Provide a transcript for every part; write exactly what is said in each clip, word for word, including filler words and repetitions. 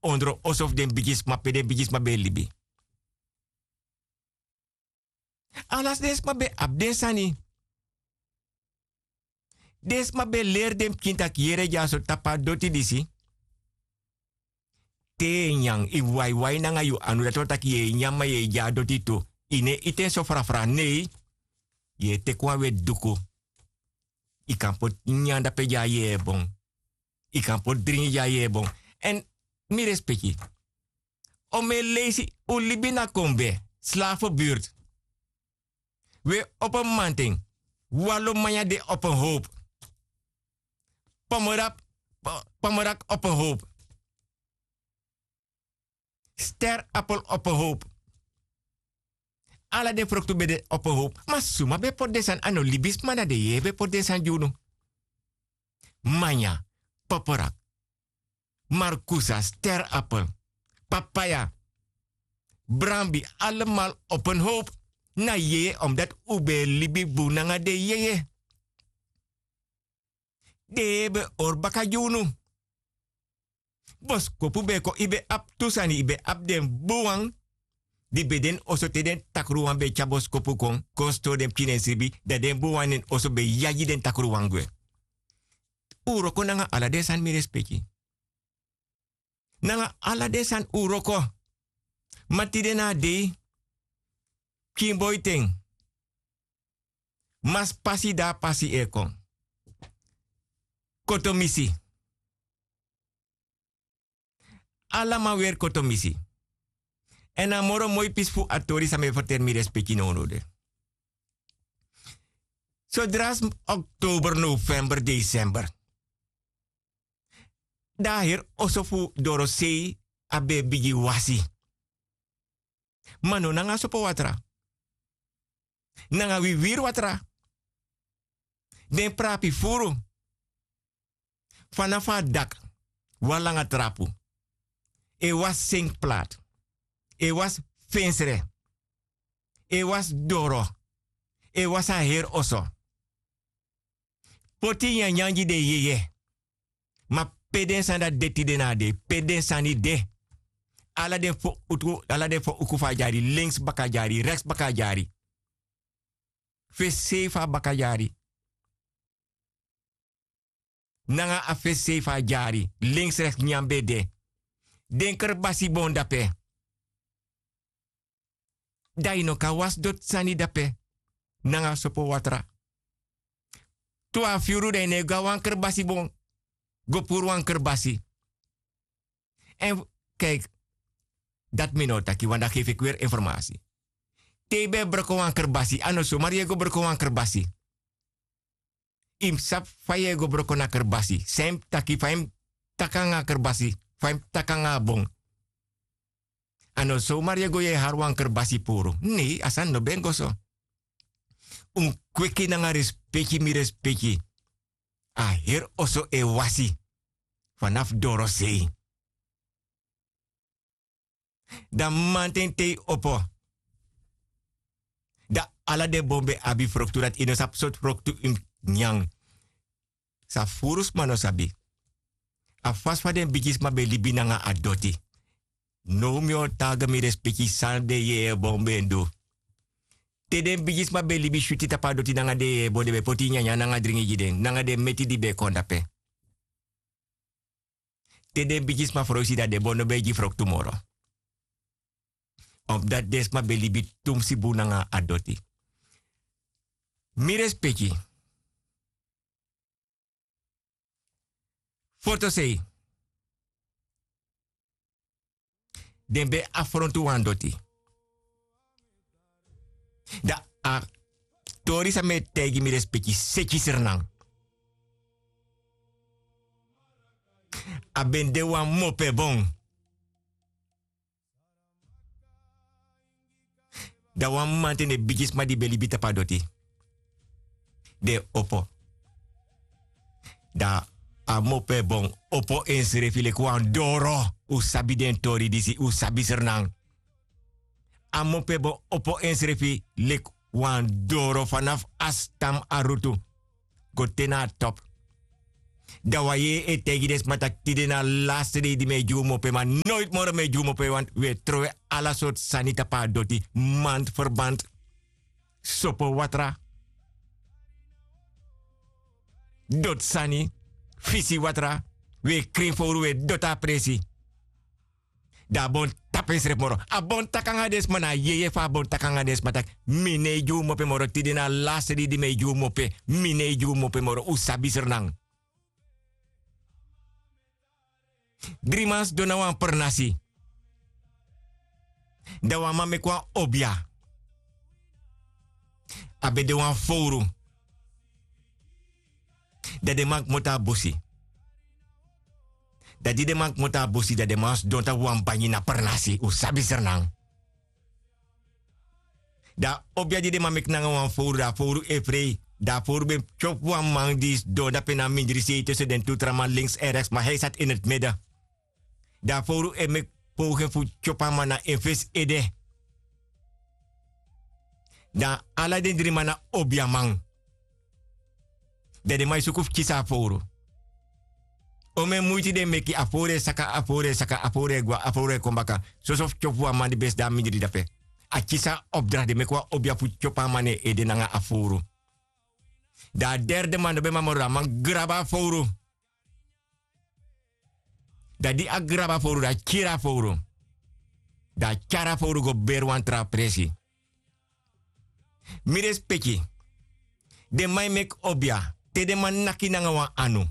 ondro oso fu den bigisma pe den bigisma ben e libi. Ala den sma ben abi den sani. Den sma ben leri den pikin taki yere dyaso tapu a doti disi. Te yu e nyan yu waiwai nanga yu anu dati wani taki yu e nyan ma yu e gi a doti tu. Yu no e iti en so frafra nei. Yu e teki wan weti duku. Yu kan poti nyan dape gi a yeye bon. Yu kan poti dringi gi a yeye bon. Èn mi respeki, omen leisi un libi na kombe slafu birti. Wi e opo mamanten. Wan lo manya de opo en howpu. Pomerak opo en howpu. Ster apel opo en howpu. Ala den froktu ben de opo en howpu ma suma ben poti den sani a no libisma na den yeye ben poti den sani gi unu. Manya, poporak, markusa, ster apel, papaya, brambi, alemal opo en howpu. Na yeye omdati un ben e libi bun nanga den yeye. Den yeye ben e hori baka gi unu. Boskopu ben e kon yu ben abi tu sani yu ben abi den bun wan. Di ben de ini oso te den takruwan ben e tyari boskopu kon kon stori den pikin na en sribi dan den bun wan na en oso ben e yagi den takruwan gwe. Un wroko nanga ala den sani mi respeki. Nanga ala den sani un wroko. Ma tide na a dei, pikin boi ten, masi pasi di a pasi e kon. Kotomisi. Ala man weri kotomisi. Èn a moro moi pisi fu a tori san mi e ferteri mi respeki nownow de. Sodra oktober november desember, dan a heri oso fu dorosei a ben e bigin wasi. Ma no nanga sopowatra, nanga wiwiri watra. Den prapi furu fanafu a daki, wan langa trapu, e wasi senki plati, e wasi fensre, e wasi doro, e wasi a heri oso. Poti nyanyan gi den yeye. Ma pe den sani dati de tide na a dei? Pe den sani de? Ala den fo uku fu a dyari, lenksi baka a dyari, reksi baka a dyari. Fu e sei fu a baka dyari. Nanga a fu e sei fu a dyari lenksreks nyan ben de. Den kerbasi bon dape. Dan yu no kan wasi doti sani dape nanga sopowatra. Twafu yuru dan yu no e go na wan kerbasi bon, go puru wan kerbasi. Èn kaiki, dati mi no o taki wan daki efu e kweri informasi. Te yu ben e broko wan kerbasi a no somari yu e go broko wan kerbasi. Yu mus sabi fa yu e go broko na kerbasi san yu mus taki fa yu mus taki nanga a kerbasi, fa yu mus taki nanga a bon. A no somari yu e go yu e hari wan kerbasi puru nei a sani no ben go so. Un kweki nanga respeki mi respeki. A heri oso e wasi fanafu dorosei. Dan mamanten te yu opo, dan ala den bon ben abi froktu dati yu no sabi sortu froktu yu mus nyan. San furu sma no sabi a fasi fa den bigisma ben libi nanga a doti. Now mi o taga mi respeki san den yeye bon ben du. Te den bigisma ben libi switi tapu a doti nanga den yeye bon den ben poti nyanyan nanga dringi gi den nanga den meti di ben kon dape. Te den bigisma froisi dan den bon no ben e gi froktu moro. Omdati den sma ben libi tumsi bun nanga a doti. Mi respeki. Fotosei. Den ben afrontu wan doti. Dan a tori san mi e taigi mi respeki seki srinan. A ben de wan mopebon. Dan wan mamanten den bigisma di ben libi tapu a doti den opo. Dan a mopo e bon opo ensrefi leki wan doro. Un sabi den tori disi un sabi srnan. A mopo e bon opo ensrefi leki wan doro fanafu a stam a rutu go te na a topu. Dan wan yeye e taigi den sma tak' tide na a laste dei di mi e gi un mope, ma noiti moro mi e gi un mope, want wi e trowe ala sortu sani tapu a doti, mand ferband, sopo watra, doti sani, fisi watra, wi e krin fowru, wi e doti a presi. Dan a bon tapu ensrefi moro. A bon taki nanga den sma, na a yeye fu a bon taki nanga den sma tak' mi no e gi un mope moro, tide na a laste dei di mi e gi un mope, mi no e gi un mope moro, un sabi Sranan. Dri man sidon na wan pernasi. Dan wan man meki wan obia. A ben de wan fowru. Dan den man kmoto a busi. Dan di den man kmoto a busi, dan den man sidon tapu wan banyi na pernasi, un sabi Sranan. Dan a obia di den man meki nanga wan fowru, dan a fowru e frei. Dan a fowru ben tyopu wan man di sidon dape na mindri sei tussen den tu tra man, links en rechts, ma hij zat in het midden. Dan a fowru e meki poging fu tyopu a man na en fesi ede. Dan ala den dri man na obiaman. Dan den man e suku fu kisi a fowru. Omeni muiti den meki, a fowru e saka, a fowru e saka, a fowru e gwe, a fowru e kon baka. Soso fu tyopu wan man di ben sidon a mindri dape. A kisi a opdracht, den meki wan obia fu tyopu a man na en ede nanga a fowru. Dan a derde man no ben man moro, dan a man grabu a fowru. Dan di a grabu a fowru, dan a kiri a fowru. Dan a tyari a fowru go beri wan tra presi. Mi respeki. Den man e meki obia, te den man naki nanga wan anu,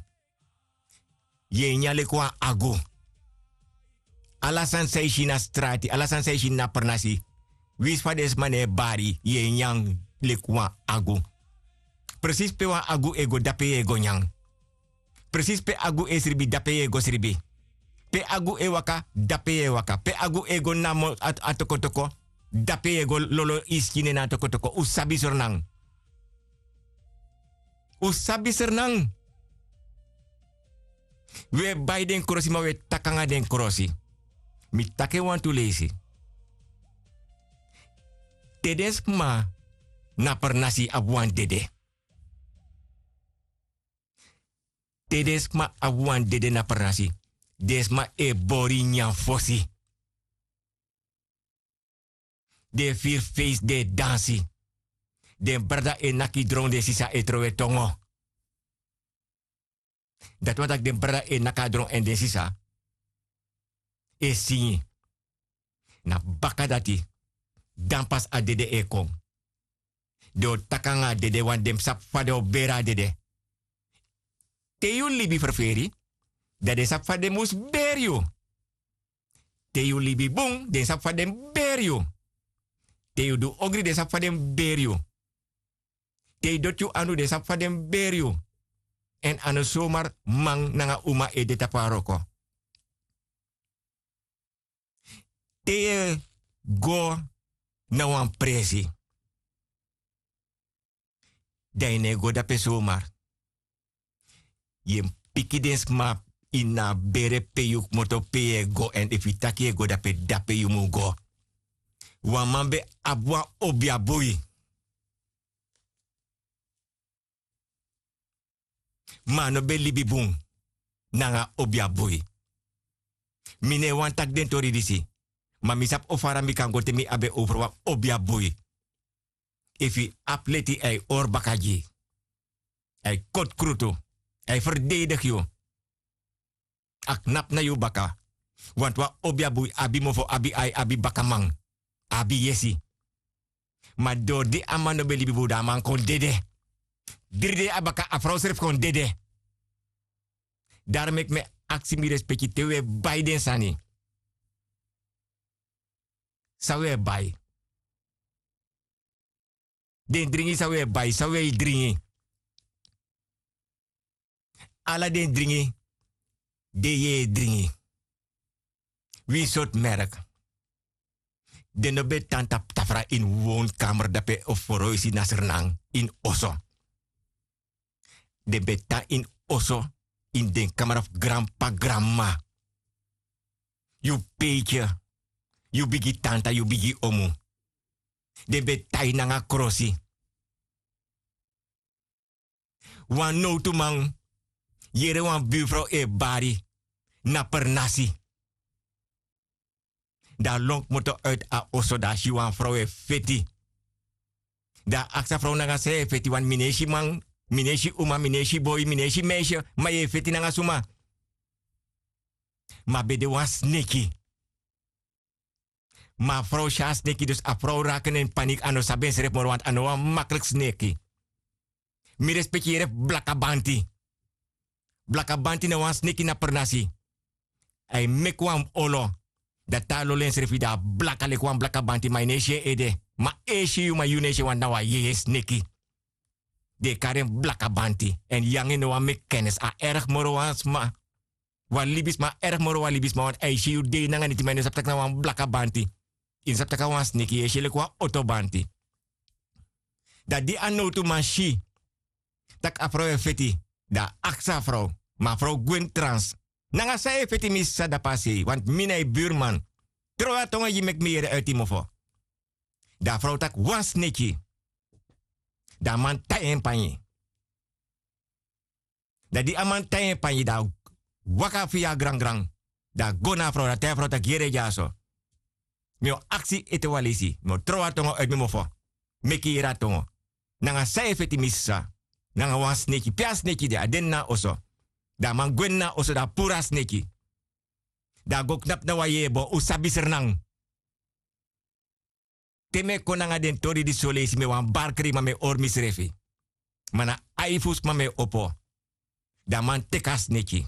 yu e nyan leki wan agu. Ala sani san yu si na strati, ala sani san yu si na pernasi, winsi fa den sma no e bari, yu e nyan leki wan agu. Presisi pe wan agu e go, dape yu e go nyan. Presisi pe agu e sribi, dape yu e go sribi. Pe agu e waka, dape yu e waka. Pe agu e go namo a, a tokotoko, dape yu e go lolo yu skin na a tokotoko. Un sabi Sranan. Un sabi Sranan. Wi e bai den krosi, ma wi e taki nanga den krosi. Mi taki en wantu leisi. Te den sma na pernasi abi wan dede. Te den sma abi wan dede na pernasi, den sma e bori nyan fosi. Den e firi feisi, den e dansi. Den brada e naki dron, den sisa e trowe tongo. Dati wani taki den brada e naki a dron èn den sisa e singi. Na baka dati, dan pas a dede e kon. Den o taki nanga a dede, want den mus sabi fa den o beri a dede. Te yu libi ferferi, dan den sabi fa den mus beri yu. Te yu libi bun, den sabi fa den mus beri yu. Te yu du ogri, den sabi fa den mus beri yu. Te yu doti yu anu, den sabi fa den mus beri yu. Èn a no somar man nanga uma e de tapu a wroko. Te yu e go na wan presi, dan yu no e go dape somar. Yu e piki den sma ini a bere pe yu kmoto, pe yu e go, èn efu yu taki yu e go dape, dape yu mu go. Wan man ben abi wan obia bui. Ma a no ben libi bun nanga obia bui. Mi no e wani taki den tori disi, ma mi sabi o fara mi kan go te mi abi en over wan obia bui. Efu yu abi leti, a e hori baka gi yu. A e koti krutu. A e ferdedigi yu. A knapu na yu baka. Want wan obia bui abi mofo, abi ai, abi bakaman, abi yesi. Ma dori di a man no ben libi bun, dan a man kon dede. Dri dei a baka a frow srefi kon dede. Daro meki mi e aksi, mi respeki, te wi e bai den sani, san wi e bai? Den dringi san wi e bai, san wi e dringi? Ala den dringi di yu e dringi, winsi sortu merk, den no ben tan tapu tafra ini wonkamer dape of foroisi na Sranan, ini oso. Den ben tan ini oso, ini den kamra fu granp'pa, granm'ma. Yu peiki, yu bigi tanta, yu bigi omu. Den ben tai nanga krosi. Wan nowtuman yere wan burfrow e bari na pernasi. Dan a lon kmoto uiti a oso dan a si wan frow e feti. Dan a aksi a frow nanga san yu e feti wani mi no e si man, mi no e si uma mi no e si boi mi no e si meisi. Ma yu e feti nanga suma? Ma a ben de wan sneki. Ma a frow si a sneki dus a frow raki na en paniki a no sabi ensrefi moro wantu a no wan makliki sneki. Mi respeki yere fu blakabanti. Blakabanti na wan sneki na pernasi. A e meki wan olo. Dan te a lolo ensrefi dan a blaka leki wan blakabanti ma yu no e si en ede. Ma a e si yu ma yu no e si en wantu na wan yeye sneki. Den e kari en blakabanti èn yu nanga en no wani meki kenisi a ergi moro wan sma. Wan libisma a ergi moro wan libisma wantu a e si yu dei nanga niti ma yu no sabi tak' na wan blakabanti. Yu no sabi tak' a wan sneki yu e si en leki wan otobanti. Dan di a nowtuman si tak' a frow e feti, dan a aksi a frow. Ma a frow gwe ini trans. Nanga san yu e feti mi sisa dapu a sei wantu mi na yu burman. Trowe a tongo gi meki mi yere uiti yu mofo. Dan a frow taki wan sneki. Dan a man tai en panyi. Dan di a man tai en panyi dan a waka fu yu a grangran. Dan a go na a frow dan a tai a frow taki yere yu dyaso. Mi o aksi ete wan leisi mi o trowe a tongo uiti mi mofo. Meki yu yere a tongo. Nanga san yu e feti mi sisa? Nanga wan sneki pe a sneki de a de ini na a oso. Dan a man gwe ini na a oso dan a puru a sneki. Dan a go knapu na wan yeye bon un sabi srnan. Te mi e kon nanga den tori disi soleisi mi e wani barkri ma mi e hori misrefi. Ma na ai fu sma mi e opo. Dan a man teki a sneki.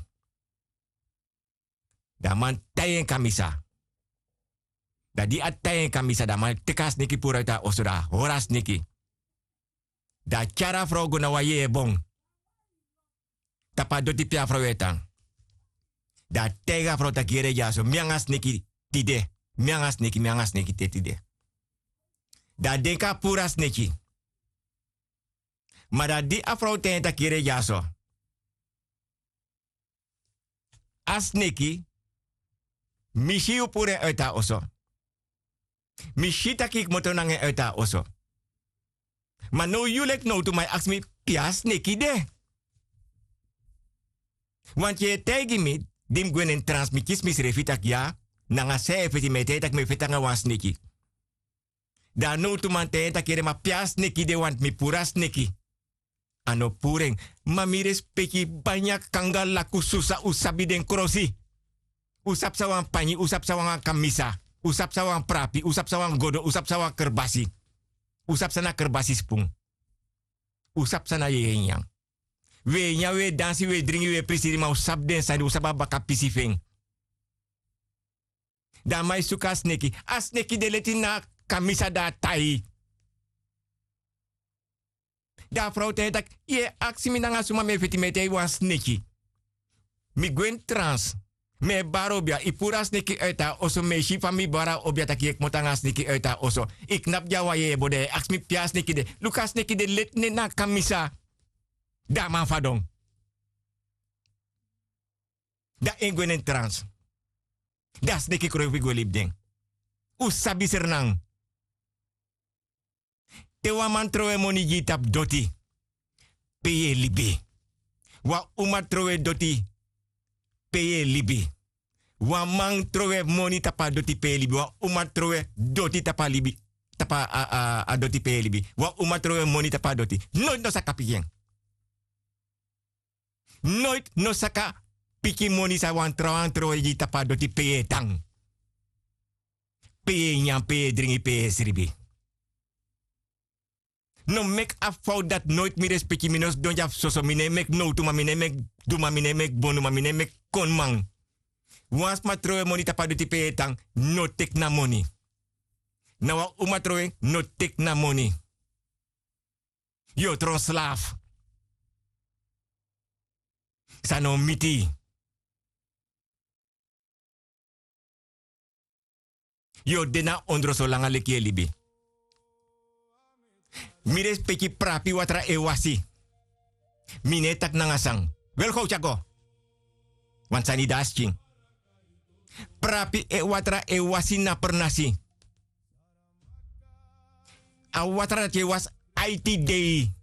Dan a man tai en kamisa. Dan di a tai en kamisa dan a man teki a sneki puru uiti a oso dan a hori a sneki. Dan a tyari a frow go na wan yeye bon tapu a doti pe a frow e tan. Dan a taigi a frow taki yere dyaso mi nanga sneki tide. Mi nanga sneki mi nanga sneki te tide. Dan a denki a puru a sneki. Ma dan di a frow ten en taki yere dyaso a sneki mi si yu puru en uiti a oso. Mi si tak' yu kmoto nanga en uiti a oso. Ma now yu leki nowtu ma yu aksi mi pe a sneki de? Wanti yu e taigi mi di mi gwe na en trans mi kisi misrefi tak' ya nanga san yu e feti mi e taigi tak' mi e feti nanga wan sneki. Dan a nowtuman taigi en tak' yere ma pe a sneki de wanti mi puru a sneki. A no puru en. Ma mi respeki banya kanga laku susa un sabi den krosi. Un sabi san wan panyi un sabi san wan kamisa. Un sabi san wan prapi un sabi san wan godo un sabi san wan kerbasi. Un sabi san na kerbasi spun. Un sabi san na yeye nyan. Wi e nyan wi e dansi wi e dringi wi e prisiri ma un sabi den sani un sabi a baka pisi fu en. Dan a man e suku a sneki. A sneki de leti na a kamisa dan a tai. Dan a frow taigi en tak' yu e aksi mi nanga suma mi e feti mi e taigi wan sneki. Mi gwe ini trans. Mi e bari obi ya yu puru a sneki uiti a oso mi e si fa mi bari a obi ya tak' yu e kmoto nanga a sneki uiti a oso. Yu knapu gi a wan yeye bo dan yu e aksi mi pe a sneki de? Luku a sneki de leti nen na a kamisa. Dan a man fadon. Dan en gwe na en trans. Dan a sneki kroifi gwe libi den. Un sabi srnan. Te wan man trowe moni gi yu tapu doti pe yu e libi? Wan uma trowe doti pe yu e libi? Wan man trowe moni tapu a doti pe yu e libi wan uma trowe doti tapu a libi tapu a doti pe yu e libi? Wan uma trowe moni tapu a doti noiti no saka piki en. Noiti no saka piki moni san wan trawan trowe gi yu tapu a doti pe yu e tan, pe yu e nyan pe yu e dringi pe yu e sribi. No meki a fowtu dati noiti mi respeki mi no sidon dya fu soso mi no e meki nowtu ma mi no e meki duma mi no e meki bonu ma mi no e meki koniman. Wan sma trowe moni tapu a doti pe yu e tan, no teki na moni. Na wan uma trowe no teki na moni. Yu o tron slafu. San no miti yu. Yu o de na ondro solanga leki yu e libi. Mi respeki prapi watra e wasi. Mi no e taki nanga san. Welgow tyako. Wan sani de a skin. Prapi e watra e wasi na pernasi. A watra dati yu e wasi aiti dei.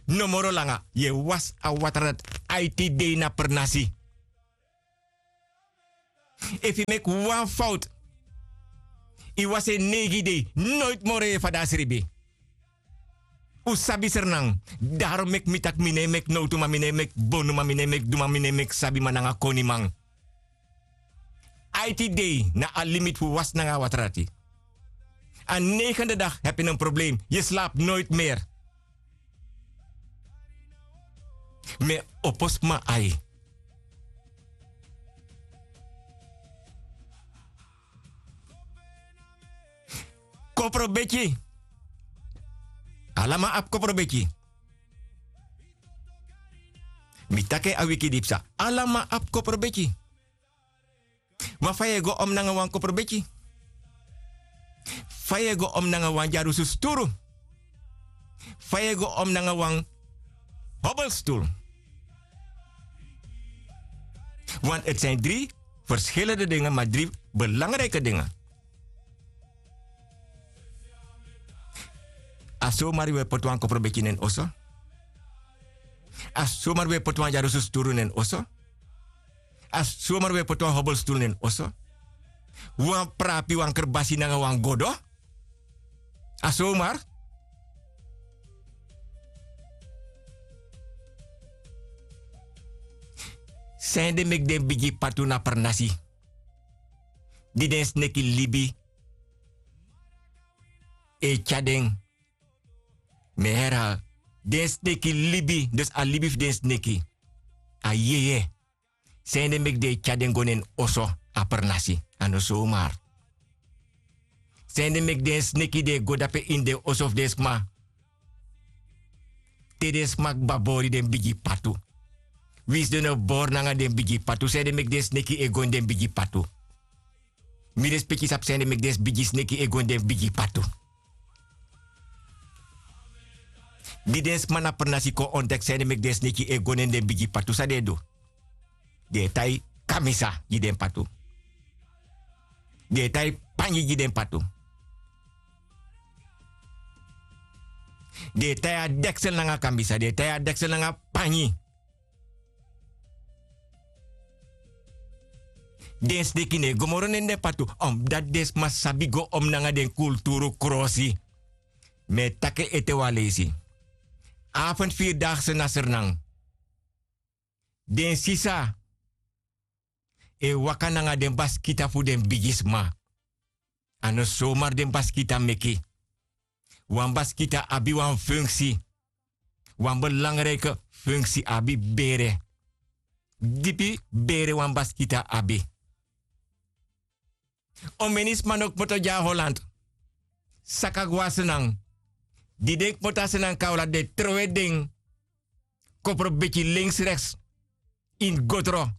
No moro langa yu e wasi a watra dati. Aiti dei na pernasi. Efu yu meki wan fowtu, yu wasi en neigi dei, noiti moro yu e fadon a sribi. Un sabi srnan. Daron meki mi taki mi no e meki nowtu, ma mi no e meki bonu, ma mi no e meki duma, mi no e meki sabiman nanga koniman. Aiti dei na a limiti fu wasi nanga a watra dati. A neigende dagi hebi en problem. Yu slabi noiti meri. Mi e opo sma ai. Koprobeki. Ala man abi koprobeki. Mi taki en a wiki di psa. Ala man abi koprobeki. Ma fa yu e go om nanga wan koprobeki? Fa yu e go om nanga wan dyarusu sturu? Fa yu e go om nanga wan hobelsturu? Want het zijn drie verschillende dingen, maar drie belangrijke dingen. A somari we poti wan koprobeki na en oso. A somari we poti wan dyarusu sturu na en oso. A somari we poti wan hobelsturu na en oso. Wan prapi, wan kerbasi nanga wan godo. A somari. San ede meki den bigi patu na pernasi, di den sneki libi e tyari den. Mi e herhaal, den sneki libi, dus a libi fu den sneki. A yeye. San ede meki den e tyari den go na en oso, a pernasi, a no somari. San ede meki den sneki den e go dape ini den oso fu den sma, te den sma kba bori den bigi patu? Winsi den no bori nanga den bigi patu, san ede meki den sneki e go ini den bigi patu? Mi respeki sabi san ede meki den bigi sneki e go ini den bigi patu. Di den sma na pernasi kon ontdeki san ede meki den sneki e go ini den bigi patu, san den e du? Den e tai kamisa gi den patu. Den e tai pangi gi den patu. Den e tai a deksel nanga kamisa, den e tai a deksel nanga pangi. Den sneki no e go moro na ini den patu, omdat den sma sabi go om nanga den kulturu krosi. Mi e taki en ete wan leisi. Avondvierdaagse na Sranan. Den sisa e waka nanga den baskita fu den bigisma. A no somari den baskita meki. Wan baskita abi wan funksi. Wan belangriki funksi, abi bere. Dipi bere wan baskita abi. Omeni sma no kmoto gi a Holland. Saka go na Sranan. Di den kmoto na Sranan, kon na Holland, den trowe den koprobeki lenks reks ini gotro.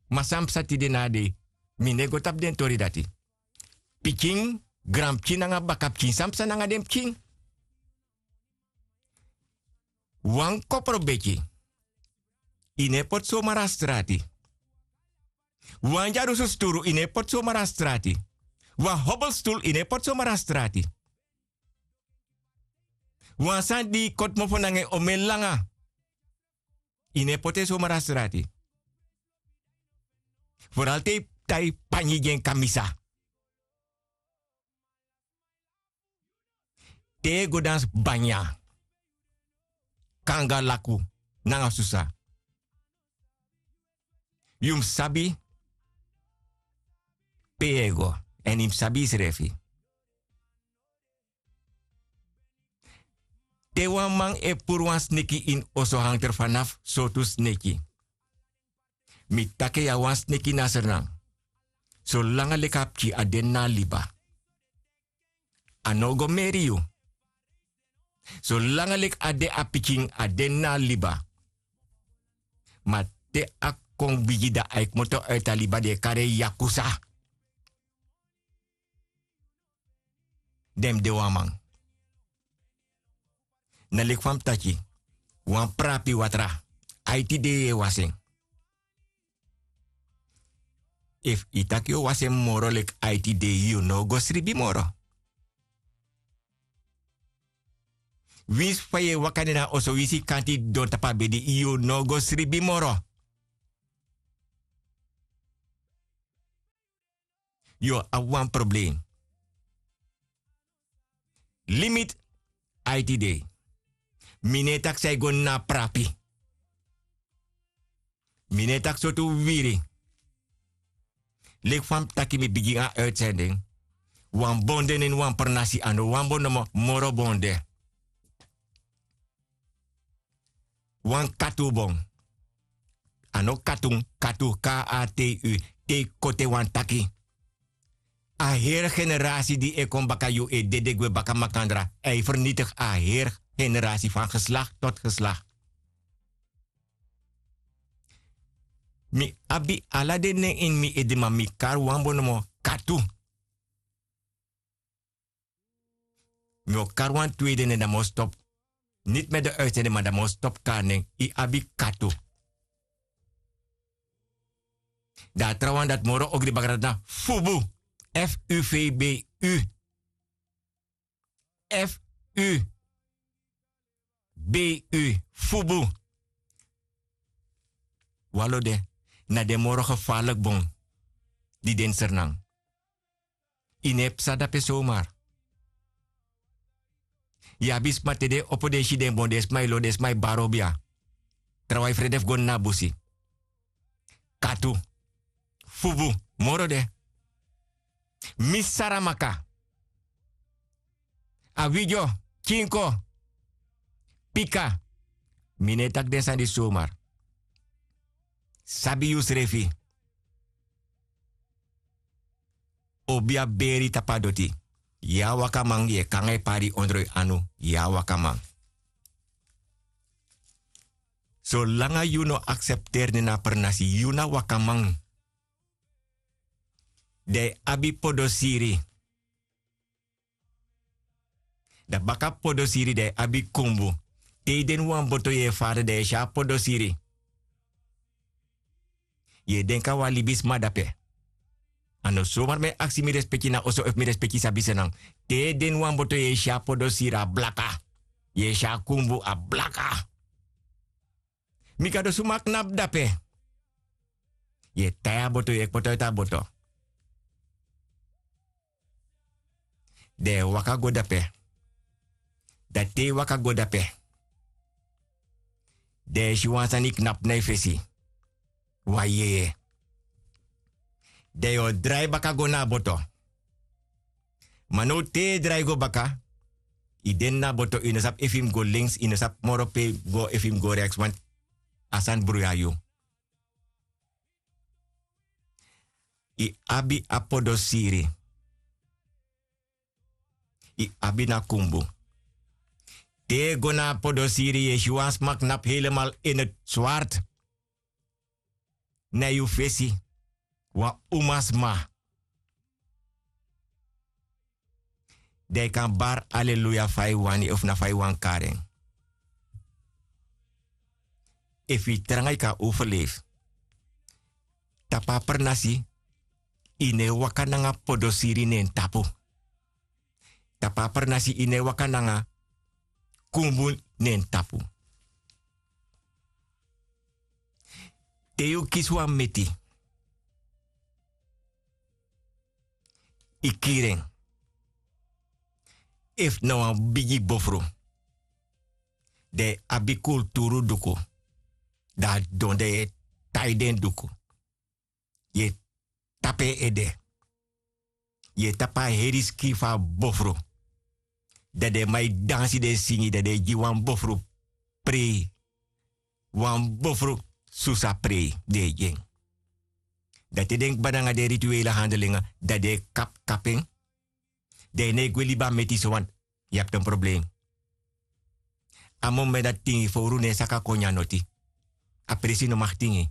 Ma san psa tide na a dei? Mi no e go tapu den tori dati. Pikin, granpikin nanga bakapikin, san psa nanga den pikin? Wan koprobeki, yu no e poti somari na strati. Wan dyarusu sturu, yu no e poti somari na strati. Wan hobelstulu, yu no e poti somari na strati. Wan sani di yu koti mofo nanga en omen langa, yu no e poti en somari na strati. Vooral te yu tai pangi gi en kamisa. Te yu e go dansi banya, kanga laku nanga susa, yu mus sabi pe yu e go, èn yu mus sabi yusrefi. Te wan man e puru wan sneki ini oso, hangter fanafu sortu sneki. Mi taki yu, a wan sneki na Sranan. Solanga leki a pikin, a de na liba. A no o go meri yu. Solanga leki a de a pikin, a de na liba. Ma te a kon bigi, dan a e kmoto uiti a liba, den e kari en yakusa. Den mus de wan man. Na leki fa mi taki, wan prapi watra, aiti dei yu e wasi en. Efu yu taki yu o wasi en moro leki aiti dei, yu no o go sribi moro. Winsi fa yu e waka de na oso winsi kanti don tapu a bedi, yu no go sribi moro. Yu o abi wan problem. Limiti aiti dei. Mi no e taki san e go na prapi. Mi no e taki sortu wiri. Leki fa mi taki mi bigin a uitsending. Wan bon de neni wan pernasi, a no wan bon nomo, moro bon de. Wan katu bon. A no katun, katu, K A T U. Te yu kote wan taki, a heri generasi di e kon baka yu e dede gwe baka makandra. A e fernitigi a heri generasi fan geslakti tot geslakti. Mi abi ala den nen ini mi ede, ma mi kari wan bon nomo, katu. Mi o kari wan tweede nen, dan mi o stop. Niti mi e de uitzending, ma dan mi o stop kari nen. Yu abi katu. Dan a trawan dati moro ogri baka, dati na fubu. F U V B U. F U B U. Fubu. Walo de, na den moro gevaarlijk bon di den Sranan. Yu no e psa dape somar. Yu abi sma te den opo, den si den bon, den sma e lo, den sma e bari obia. Trawan e frede fu go na busi. Katu. Fubu. Moro de. Misi Saramaka. Awidyo. Kinko. Pika. Mi no e taki den sani disi somar. Sabi yusrefi. Obi a beri tapu a doti. Yu a wakaman, yu e kon nanga yu pari ondro yu anu, yu a wakaman. Solanga yu no aksepteri nen na a pernasi, yu na wakaman. Dan yu abi podosiri. Dan baka podosiri dan yu abi kumbu. Te yu de ini wan boto yu e fara, dan yu e si a podosiri. Yu e denki a wan libisma dape. A no somar mi e aksi mi respeki na oso efu mi respeki sabi Sranan. Te yu de ini wan boto yu e si a podosiri, a blaka. Yu e si a kumbu, a blaka. Mi Gado, suma knapu dape? Yu e tai a boto, yu e kpoti a boto. Dan yu e waka go dape. Dan te yu waka go dape, dan yu e si wan sani knapu na yu fesi. Wan yeye. Dan yu o drai baka go na a boto. Ma now te yu e drai go baka, yu de ini a boto, yu no sabi efu yu mus go links, yu no sabi moro pe yu mus go, efu yu mus go reks, want a sani bruya yu. Yu abi a podosiri. Yu abi na kumbu. Te yu go na a podosiri, yu e si wan sma knapu helemaal in het zwart. Na yu fesi, wan umasma. Dan yu kan bari aleluya fa yu wani, efu na fa yu wani kari en. Efu yu tranga yu kan overleef. Tapu a pernasi, yu no e waka nanga podosiri na en tapu. Tapu a pernasi yu no e waka nanga kumbu na en tapu. Te yu kisi wan meti, yu kiri en. Efu na wan bigi bofru, dan yu abi kulturu duku. Dan a don, dan yu e tai den duku. Yu e tapu en ede. Yu e tapu a heri skin fu a bofru. Dan den man e dansi, den e singi, dan den e gi wan bofru prei. Wan bofru susa prei den e gi en. Dan te den kba nanga den rituele handelingi, dan den e kapu kapu en. Dan yu no e gwe libi a meti so, want yu abi ten problem. A moment dati tingi fowru no e saka kon nyan noti. A presi no mag tingi.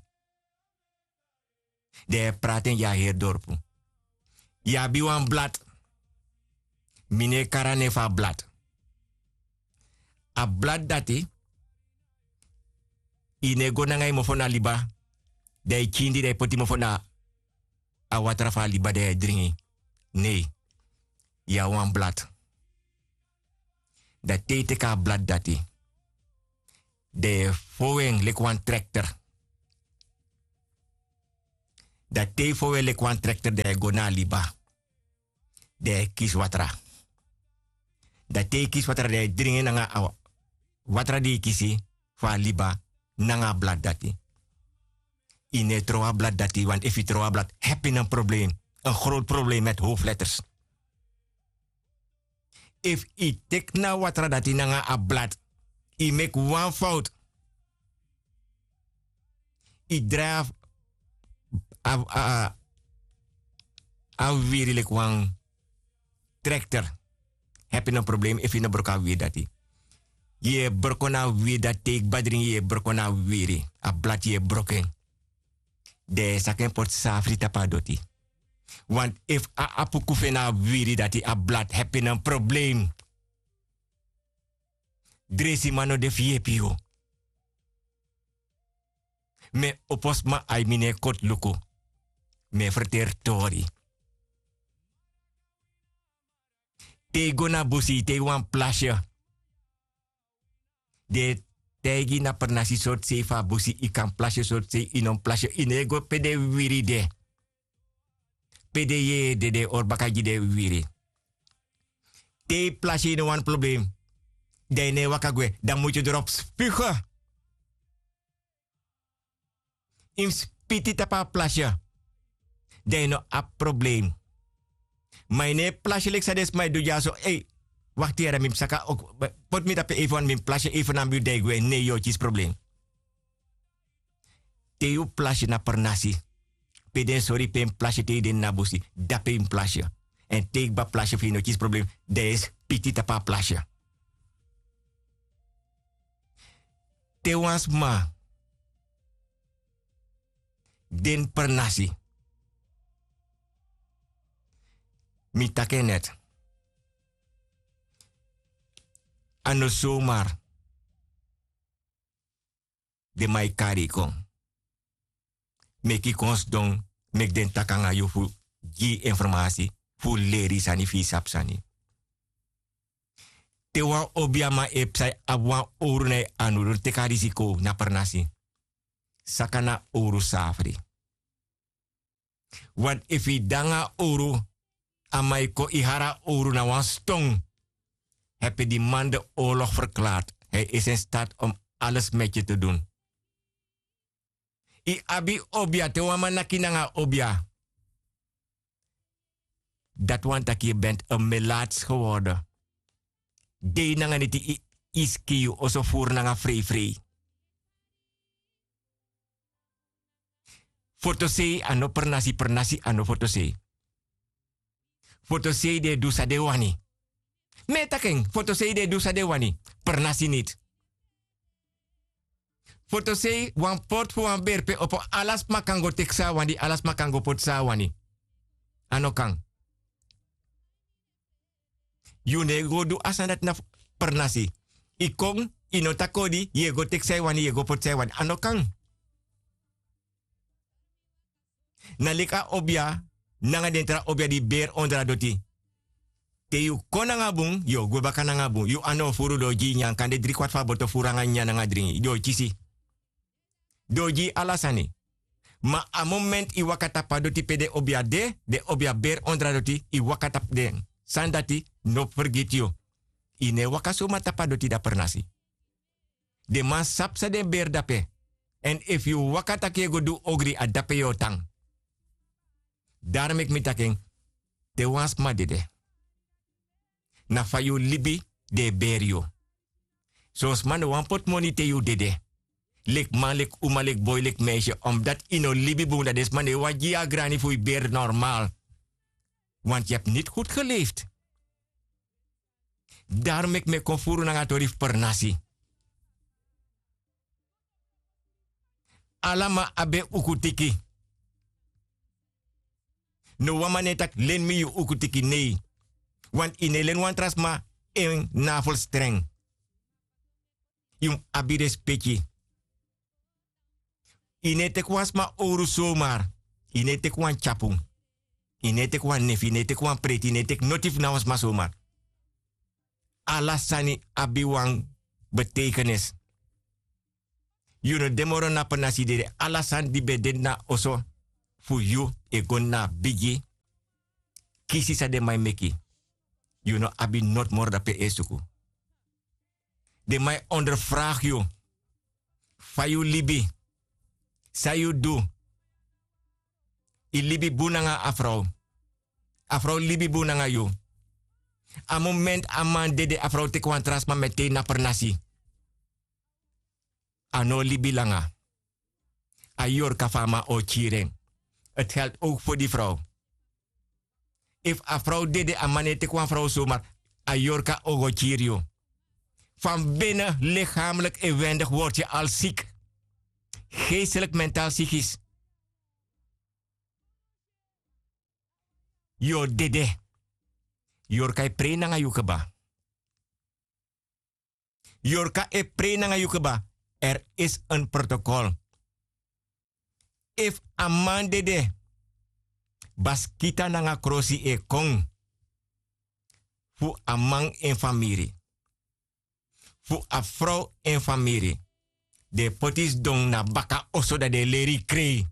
Dan yu e prati en gi a heri dorpu. Yu abi wan blad. Mi no e kari a nen fu a blad. A blad dati, yu no e go nanga yu mofo na liba, dan yu kindi, dan yu poti mofo na a watra fu a liba, dan yu e dringi. Nei. Yu abi wan blad. Dan te yu teki a blad dati, dan yu e fow en leki wan trekter. Dan te yu fow en leki wan trekter, dan yu e go na a liba. Dan yu e kisi watra. Dan te yu kisi watra, dan yu e dringi en nanga a watra di yu kisi fu a liba nanga a blad dati. Yu no e trow a blad dati, want efu yu trow a blad, happy na problem. Een groot probleem met hoofdletters. Efu yu teki na watra dati nanga a blad, yu meki wan fout. Yu drai a, a, a, a wiwiri leki wan trekter. Happy na problem efu yu no broko a wiwiri dati. Yu e broko na a wiwiri dati, te yu kba dringi, yu e broko na a wiwiri. A blad yu e broko en. Dan yu e saka en poti safri tapu a doti. Want efu a apuku fu en na a wiwiri dati, a blad, happy na problem. Dresiman no de fu yepi yu. Mi e opo sma, ai, mi no e koti luku. Mi e ferteri tori. Te yu go na busi, te yu wani plasi, den e taigi yu na pernasi sortu sei fu a busi, yu kan plasi sortu sei, yu no mus plasi, yu no e go pe den wiwiri de. Pe den yeye de, den e hori baka gi den wiwiri. Te yu plasi, yu no wani problem, dan yu no e waka gwe, dan mus yu drop spugen. Yu mus spiti tapu a plasi, dan yu no abi problem. Ma yu no e plasi leki san den sma e du dyaso, ei, wakti yara, mi mus saka, ok, poti mi tapu efu wan, mi mus plasi efu na mi, dan yu gwe, nei, yu o kisi problem. Te yu plasi na pernasi, pe den sori pe yu mus plasi, te yu de ini a busi, dape yu mus plasi. Èn te yu kba plasi, fu yu no kisi problem, dan yu e spiti tapu a plasi. Te wan sma de ini pernasi, mi taki en net, a no somar den man e kari yu kon. Meki yu kon sidon, meki den taki nanga yu fu gi yu informasi, fu leri yu sani, fu yu sabi sani. Te wan obiaman e psa, yu abi wan owru na yu anu, no teki a risiko na pernasi. Saka na owru safri. Want efu yu de nanga a owru, a man e kon, yu hari a owru na wan ston. Heb je die man de oorlog verklaard. Hij is in staat om alles met je te doen. Yu abi obia, te wan man naki nanga obia, dati wani taki yu bent een melaats geworden. Dei nanga neti, yu, yu skin, yu oso furu nanga freifrei. Fotosei a no pernasi, pernasi a no fotosei. Fotosei den e du san den wani. Mi e taki en, fotosei den e du san den wani, pernasi niti. Fotosei, wan portu fu wan bere pe opo, ala sma kan go teki san a wani, ala sma kan go poti san a wani. A no kan. Yu no e go du a sani dati na pernasi. Yu kon, yu no taki odi, yu e go teki san yu wani, yu e go poti san yu wani. A no kan. Na leki a obia nanga den tra obia di beri ondro a doti. Te yu kon nanga bun, yu o gwe baka nanga bun. Yu anu o furu, den o gi yu nyan, kande dri kwati fu a boto furu nanga nyan nanga dringi. Den o kisi. Den o gi yu ala sani. Ma a momenti yu waka tapu a doti pe den obia de, den obia beri ondro a doti, yu waka tapu den. Sani dati no fergiti yu. Yu no e waka soma tapu a doti, da pernasi. Den man sabi san den beri dape. Èn efu yu waka taki yu e go du ogri, a dape yu o tan. Daro meki mi taki en, te wan sma dede, na fa yu libi den e beri yu. Son sma no wani poti moni te yu dede. Leki man, leki uma, leki boi, leki meisje, omdat yu no libi bun, dan den sma no e wani gi yu a grani fu yu beri normaal. Want yu hebi niti goed geleefd. Daro meki mi e kon furu nanga tori fu pernasi. Ala man abi en ukutiki. No wan man no e taki leni mi yu ukutiki, nei. Want yu no e leni wan tra sma en navelstreng. Yu mus abi respeki. Yu no e teki wan sma owru somar. Yu no e teki wan tyapun. Yu no e teki wan nefi, yu no e teki wan preti, yu no e teki noti fu na wan sma somar. Ala sani abi wan beteikenis. Yu no de moro na pernasi dede. Ala sani di ben de na oso fu yu e go na bigi. Kisi san den man e meki. Yu no abi noti moro dape e suku. Den man e onderfragi yu. Fa yu libi? San yu du? Yu libi bun nanga a frow? A frow libi bun nanga yu? A moment a man dede a frow teki wan tra sma metei na pernasi. A no o libi langa. A yorka fu a man o kiri en. Ti help ouk fu di frow. Efu a frow dede a man no e teki wan frow somar. A yorka o go kiri yu. Fan bene likamlik en wendigi worti yu al sik. Geestelik mentaal sikis. Yu o dede. Yorka e prei nanga yu keba. Yorka e prei nanga yu keba. Er is en protokol. Efu a man dede, baskita nanga krosi e kon. Fu a man en famiri, fu a frow en famiri. Den e poti sidon na baka oso dan den e leri yu krei.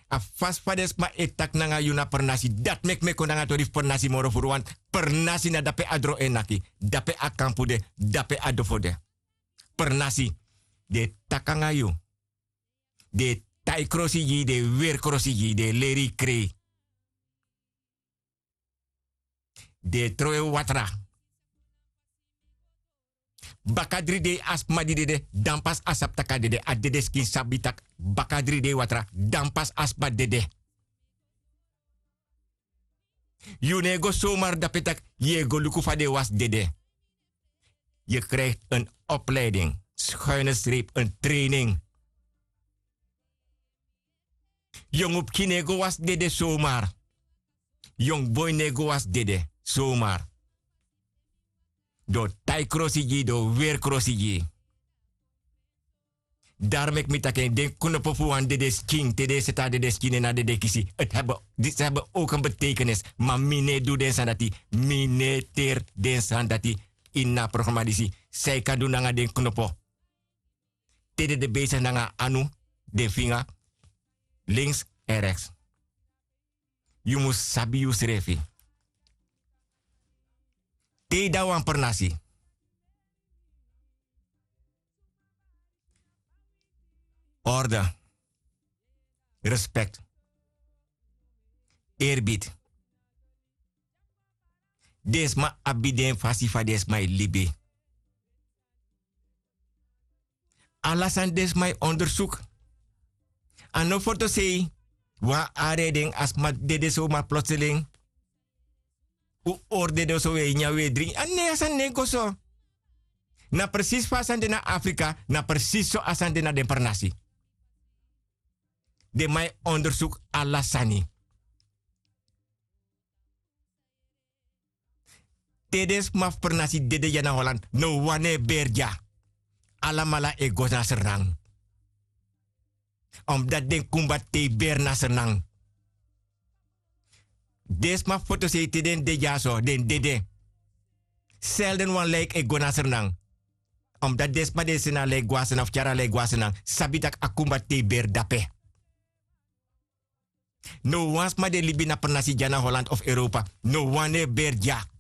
A fasi fa den sma e taki nanga yu na pernasi dati meki mi e kon nanga tori fu pernasi moro furu wantu. Pernasi na dape a dro e naki, dape a kampu de, dape a dofo de. Pernasi, den e taki nanga yu. Den e tai krosi gi yu, den e weri krosi gi yu, den e leri yu krei. Den e trowe watra. Baka dri dei a sma di dede dan pasi a sabi tak' a dede. A dedeskin sabi tak' baka dri dei watra dan pasi a sma dede. Yu no e go somar dape tak' yu e go luku fa den e wasi dede. Yu krijgi en opleiding, skuine streep en training. Yongu pikin no e go wasi dede somar. Yongu boi no e go wasi dede somar. Den o tai krosi gi yu, den o weri krosi gi yu. Dari meki mi taki en, den knopo fu wan dedeskin, te den e seti a dedeskin na dedekisi, disi heben ouk en beteikenis. Ma mi no e du den sani dati. Mi no e teri den sani dati. Ini a programa disi san yu kan du nanga den knopo. Te den de beisigi nanga anu, den finga, links èn reks. Yu mus sabi yusrefi. Te yu de na wan pernasi, orde, respekt, eerbid. Den sma abi den fasi fa den sma e libi. Ala sani den sma e ondersuku. A no fotosei. Wan ari e den, a sma dede somar plotseling. Un ori dede so, un e nyan, un e dringi. A ne, a sani no e go so. Na presisi fa a sani de na Afrika, na presisi so a sani de na den pernasi. Den man e ondersuku ala sani. Te den sma fu pernasi dede dya na Holland, no wan no e beri dya. Alamala e go na Sranan. Omdati den kumba tei beri na Sranan. Den sma fu fotosei, te den de dya so, den dede. Selden wan lijk e go na Sranan. Omdati den sma di e seni a lijk go na Sranan fu tyari a lijk go na Sranan, sabi tak' a kumba tei beri dape. No wan sma di e libi na pernasi dya na Holland of Europa, no wan no e beri dya.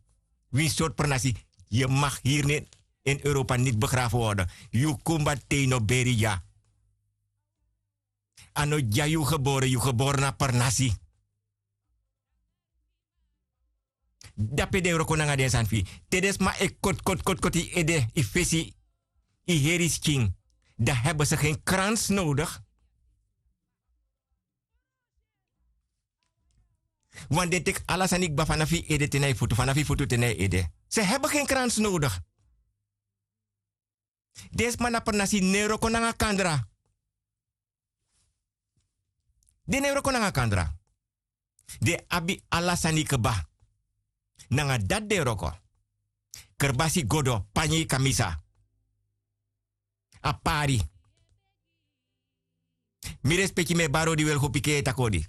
Winsi sortu pernasi, yu mag hiri ini Europa niti begrafu worden. Yu kumba tei no beri dya. A no dya yu gebore, yu gebore na pernasi. Dape den e wroko nanga den sani fu yu. Te den sma e koti, koti, koti, koti yu ede, yu fesi, yu heri, yu skin, dan heben se gen krans nodigi. Want den teki ala sani kba fanafu yu ede te na yu futu, fanafu yu futu te na yu ede. Se heben gen krans nodigi. Den sma na pernasi no e wroko nanga kandra. Den no e wroko nanga kandra. Den abi ala sani kba. Nanga dati den e wroko. Kerbasi, godo, panyi, kamisa. A pari. Mi respeki, mi e bari odi, welgo piki e taki odi.